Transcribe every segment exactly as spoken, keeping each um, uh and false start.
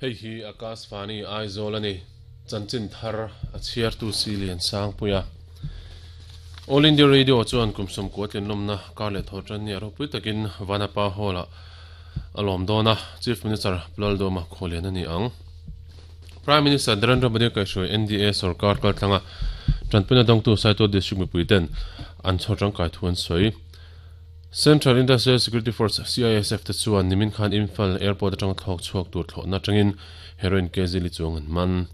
Hei hi Akashvani Aizawl ani chanchin thar a chhiar tu si lian sang puia All India Radio chuan kumsum kuatlin lomna karle thotran ni ropui takin Vanapa Hall a alom dona Chief Minister Plaldoma kholian ani ang Prime Minister Narendra Modi kai shui N D A sarkar kaltlanga Tranpuna dongtu Saitual District mipuiten an chhotrang kai thuan soi Central Industrial Security Force C I S F te chuan nimin khan Imphal Airport atang thlok chuak tur thlona tangin heroin kg li chuang an man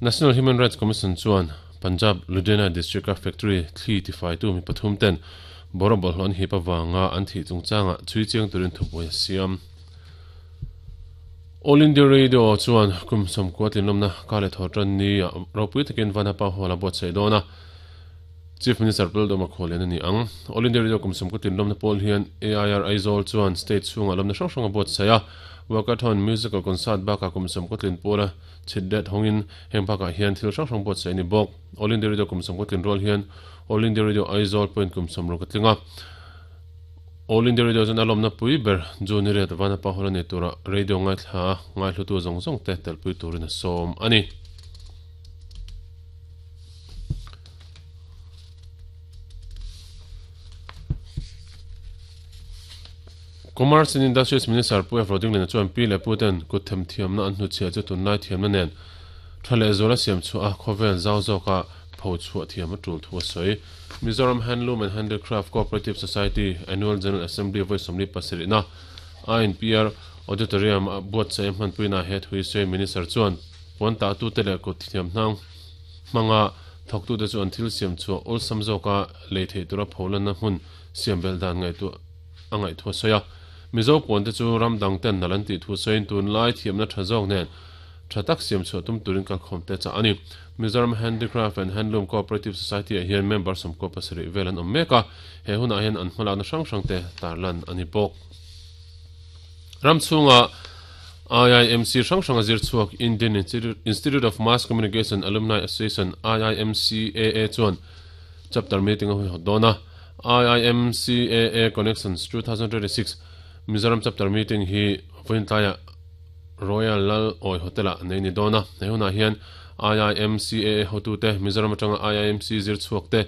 National Human Rights Commission chuan Punjab Ludhiana District Factory thli ti fai tu mi pathum ten borobol hlon hi pawanga an thi chungchanga chui chiang turin thupoi siam All India Radio chuan kumsam kuatlin lomna kale thotran ni ropui takin Vanapa Hall a bot sei dona Chief Minister Paldoma Kholian ani ang All India Radio kumsam kuatlin lomna pol hian A I R Aizawl chuan state chunga lomna hrang hrang a bot seia Walkathon musical concert baka kumsam kuatlin pola chitdet hongin heng baka hian thil hrang hrang bot sei ni bok All India Radio kumsam kuatlin rol hian All India Radio Aizawl point kumsam ro katlinga All India Radio chuan a lawmna pui ber June ret Vanapa Hall ani tura radio ngai thla ngai hlutu zawng zawng te telpui turin a sawm ani Commerce and Industries Minister Pu F Roding lena chuan pi le pu ten kut them thiamna an hnuchhia chu tunlai thiamna nen thale zola siam chu a khawvel zau zawka pho chhuah thiam a tul thu a sawi Mizoram Handloom and Handicraft Cooperative Society Annual General Assembly voi sawmli pasarihna I N P R Auditorium a buat sei hmanpuina he thui sawi Minister chuan puan ta tu te leh kut thiam hnang hmanga thawk tu te chu an thil siam chu awlsam zawka lei thei tura pholanna hmun siam bel dan ngai tu a ngaih thu a sawi a Mizo puan te chu ram dang ten nalan ti thu sawiin tunlai thiamna tha zawk nen tha tak siam chhuah tum turin kalkhawm te cha ani Mizoram Handicraft and Handloom Cooperative Society a hian member sawmkaw pasarih vel an awm mek a he hunah hian an hmalakna hrang hrang te tarlan ani bawk ram chhunga I I M C hrang hrang a zir chhuak Indian Institute of Mass Communication Alumni Association I I M C A A chuan chapter meeting a hui hawt dawn a I I M C A A Connections two thousand twenty-six Mizoram chapter meeting hi vointlaya Royal Lal Oi Hotel a nei ni dona he hunah hian I I M C A A hotu te Mizoram atanga I I M C zir chhuak te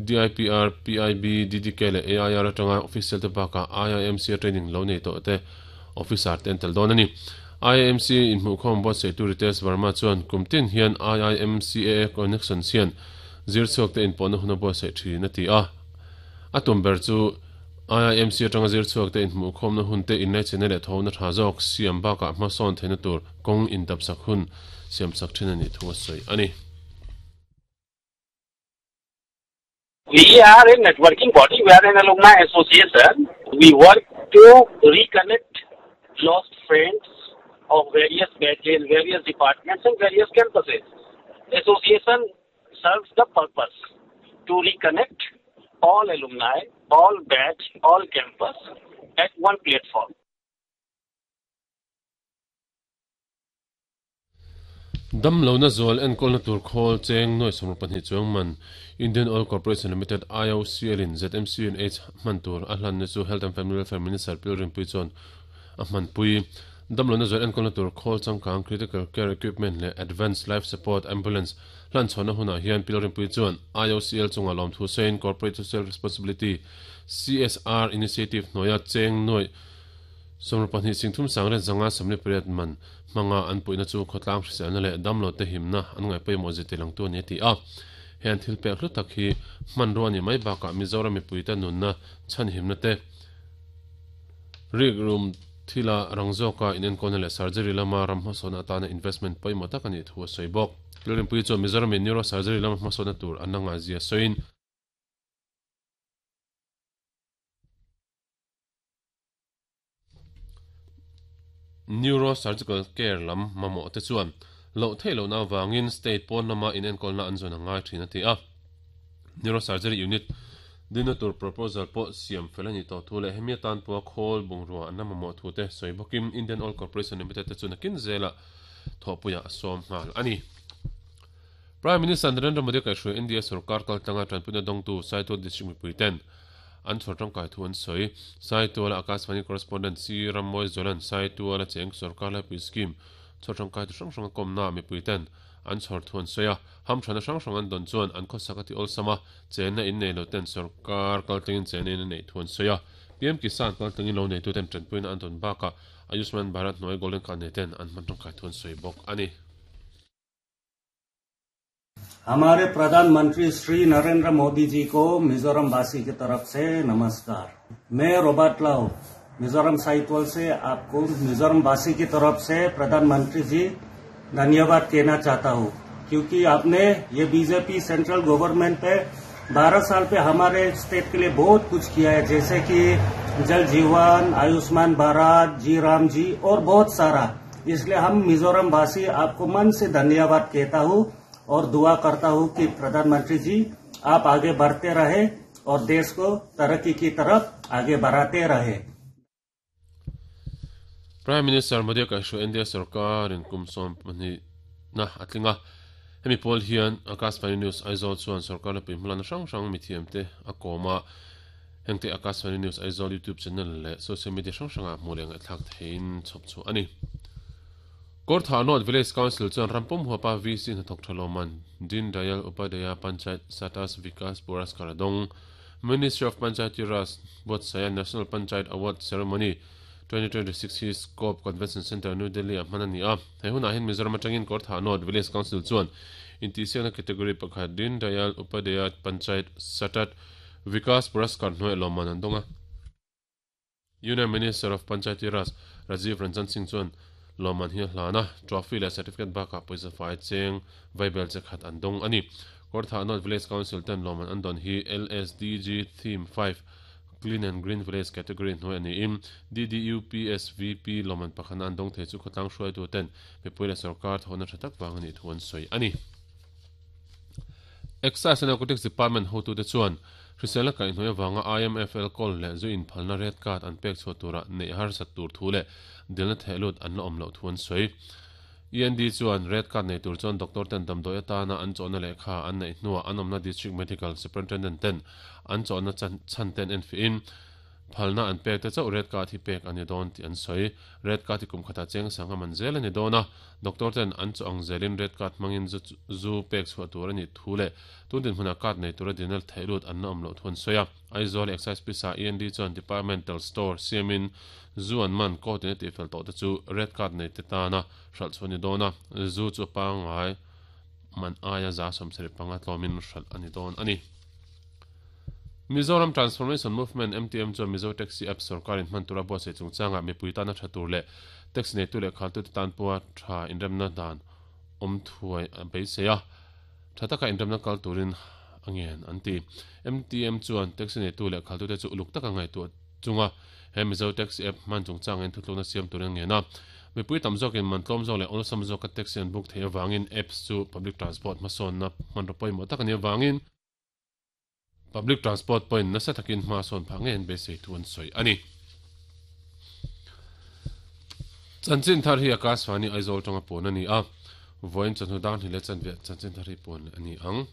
D I P R P I B D D K leh A I R atanga official te baka I I M C training lo nei tawh te officer te an tel dawn ani I I M C inhmuhkhawm buat sei tu Ritesh Verma chuan kumtin hian I I M C A A connections hian zir chhuak te inpawhna huna buat sei thin a ti a a tum ber chu I I M C atanga zir chhuak te inhmuhkhawmna hun te inlai chena leh thawna tha zawk siam bakah hmasawn theihna tur kawng indap sak hun siam sak thin ani thu a sawi ani We are a networking body, we are an alumni association. We work to reconnect lost friends of various batches, various departments and various campuses. Association serves the purpose to reconnect all alumni, all batch, all campus at one platform. Dam lo na zol en kol na tur khol cheng noi somru pahnih chuang man Indian Oil Corporation Limited I O C L in Z M C N H man tur a hlan ni chu Health and Family Welfare Minister Pilrim Pui chuan a hman pui dam lo na zol en kol na tur khol changkang critical care equipment leh advanced life support ambulance hlan chhawna hunah hian Pilrim Pui chuan I O C L chunga lawm thu sawiin Corporate Social Responsibility C S R Initiative hnuaia cheng noi somru pahnih singthum sangren zanga samli pariat man hmanga an puihna chu khawtlang hriselna leh damlo te himna an ngai pawimawh zet lang tu ani ti a hian thil pek hlu tak hi hmanrua ani mai bakah Mizoram mipui te nunna chhan himna te rik room thila rangzawka inenkawlna leh surgery lama ram hmasawn atana investment pawimawh tak ani thu a sawi bawk Pilrim Pui chuan Mizoram in neurosurgery lama hmasawnna tur an la ngazia sawiin Neurosurgical care lam mamawh te chuan loh theih lohna wangin state pawn lama inenkawlna an zawn a ngai thin a ti a neurosurgery unit dina tur proposal pawh siam fel ani tawh thu leh hemi atan pawh khawl bungrua an la mamawh thu te sawi bawkin Indian Oil Corporation Limited te chuan akin zela thawhpuia a sawm nghal ani Prime Minister Narendra Modi kaihhruai India sarkar kaltlanga tanpuina dawngtu Saitual District mipui ten an chhawrtang kai thu an sawi Saitual Akashvani correspondent C Rammoy Zolan Saitual a cheng sarkar laipui scheme chhawrtang kai tu hrang hrang a kawmna mipui ten an chhawr thuan sawi a ham thana hrang hrang an dawn chuan an khawsak ati awlsama chenna in nei lo ten sarkar kaltlangin chenna in nei thuan sawi a P M Kisan kaltlangin lo nei tu ten tanpuina an dawn baka Ayushman Bharat hnuai golden card nei ten an hman tangkai thuan sawi bawk ani. हमारे प्रधानमंत्री श्री नरेंद्र मोदी जी को मिजोरम वासी की तरफ से नमस्कार। मैं रॉबर्ट लाउ मिजोरम साहित्य से आपको मिजोरम वासी की तरफ से प्रधानमंत्री जी धन्यवाद कहना चाहता हूँ, क्योंकि आपने ये BJP central government पे बारह साल पे हमारे स्टेट के लिए बहुत कुछ किया है, जैसे कि जल जीवन, आयुष्मान भारत, जी राम जी और बहुत सारा। इसलिए हम मिजोरम वासी आपको मन से धन्यवाद कहता हूँ और दुआ करता हूँ कि प्रधानमंत्री जी आप आगे बढ़ते रहे और देश को तरक्की की तरफ आगे बढ़ाते रहे। Prime Minister Modi ka shu India sarkar in kumsom pani na atlinga hemi pol hian Akashvani News Aizawl chuan sarkar la puihmulan hrang hrang mithiam te a kawma hengte Akashvani News Aizawl YouTube channel leh social media hrang hranga hmuh leh ngaihthlak theiin chhawp chu ani. Kortha North Village Council chuan rampum huapa V C hnathawk thaloman Din Dayal Upadhyaya Panchayat Satas Vikas Puraskar dawng Ministry of Panchayati Raj buatsaia National Panchayat Award Ceremony twenty twenty-six hi Scope Convention Center New Delhi a hman ani a hei hunah hian Mizoram atangin Kortha North Village Council chuan intihsiakna category pakhat Din Dayal Upadhyaya Panchayat Satat Vikas Puraskar hnuai lawmman an dawng a. Union Minister of Panchayati Raj Rajiv Ranjan Singh chuan lawmman hi hlana trophy leh certificate bakah pawisa fai cheng vaibel che khat an dawng ani. Kortha North Village Council ten lawmman an dawn hi L S D G Theme five Clean and Green Village category hnuai ani in D D U P S V P lawmman pakhat an dawng thei chu khawtlang hruai tu ten mipui leh sarkar thawhna tha tak wang ani thu an sawi ani. Excise and Narcotics Department hotu te chuan hrisel ka hnuai awanga I M F L call leh zu in phalna red card an pek chhuah tura nei har sat tur thu leh dilna thehlut an la awm loh thu an sawi. E N D chuan red card nei tur chuan doctor ten damdawi atana an chawhna lehkha an neih hnuah an awmna district medical superintendent ten an chawhna chhan ten en fiin phalna an pek te chauh red card hi pek ani dawn tih an sawi. Red card hi kum khata cheng sanga man zel ani dawn a doctor ten an chaw ang zelin red card hmangin zu zu pek chhuah tur ani thu leh tun din hmuna card nei tura dinal thehlut an la awm loh thu an sawi a. Aizawl Excise Pisa E N D chuan departmental store siamin zu an man court in ti fel tawh te chu red card nei te tana hralh chu ani dawn a zu chu pangai man aia za sawmsarih panga tlawmin hralh ani dawn ani. Mizoram Transformation Movement M T M chuan Mizo Taxi App sarkarin hman tura buatsaih chungchanga mipui tana tha tur leh taxi nei tu leh khaltu te tan pawha tha inremna dan awm thuai a beisei a tha taka inremna kal turin angen an ti. M T M chuan taxi nei tu leh khaltu te chu uluk taka ngaihtuah chunga he Mizo Taxi App hman chungchang in thutlukna siam turin angen a mipui tam zawkin man tlawm zawk leh awlsam zawka taxi an book thei awangin apps chu public transport hmasawnna hmanraw pawimawh tak ani awangin public transport point nasa takin hma sawn phah nge an beisei thu an sawi ani. Chanchin thar hi Akashvani Aizawl tanga pawn ani a vawiin chawhnu dar hnih leh chanve chanchin thar hi pawn ani ang.